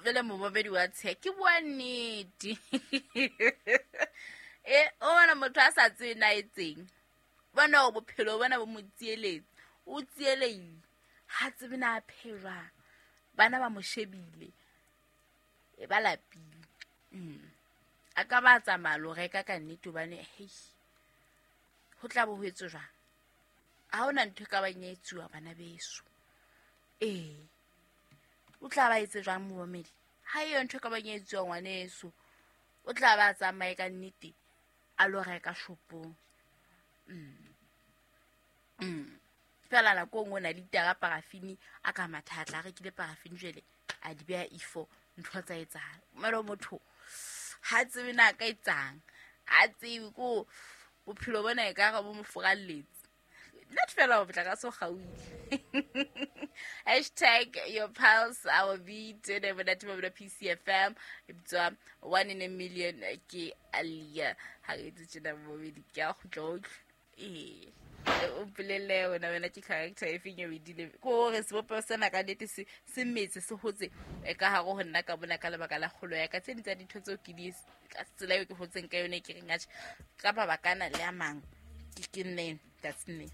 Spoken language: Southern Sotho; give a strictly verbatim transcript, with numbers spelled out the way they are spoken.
Jwale momamedi wa tsheha, ke bua nnete. E o bona motho a sa tsebe na etseng, bona hore bophelo bona bo mo tsieletse, o tsielehile, ha tsebe na a phehe jwang. Bana ba mo shebile, e ba lapile. Mm. A ka ba tsamaya lo reka ka nnete hobane hei, ho tla bo ho etswe jwang? Ha hona ntho e ka bang ya etsuwa bana beso. Ee, o tla ba etse jwang momamedi? Ha eyo ntho e ka bang ya etsuwa ngwaneso, o tla ba tsamaye ka nnete a lo reka shopong. Mm. Mm. Fela nako e nngwe o na le litara parafini a ka matha a rekile parafini jwale a di beha ifo, ntho tsa etsahala. Mara motho ha tsebe na ka etsang, ha tsebe ko bophelo bona e ka re bo mo furalletse. Not fela ho motlakase o kgaohile. Hashtag your pulse our beat ene monate ba bona P C F M e bitswa one in a million ke Alia. Ha re etse tjena momedi ke a kgutla o utlwe. Ee, o mpolelle wena, wena ke character e feng eo e dileng? Ke hore sebopeho sena ka nnete se, se metse, se hotse, e ka hare ho nna ka mona ka lebaka la kgolo ya ka. Tse ding tsa dintho tseo ke di ka tsela eo ke hotseng ka yone, ke reng atjhe, ka mabaka ana le a mang, ke, ke nne, that's nne.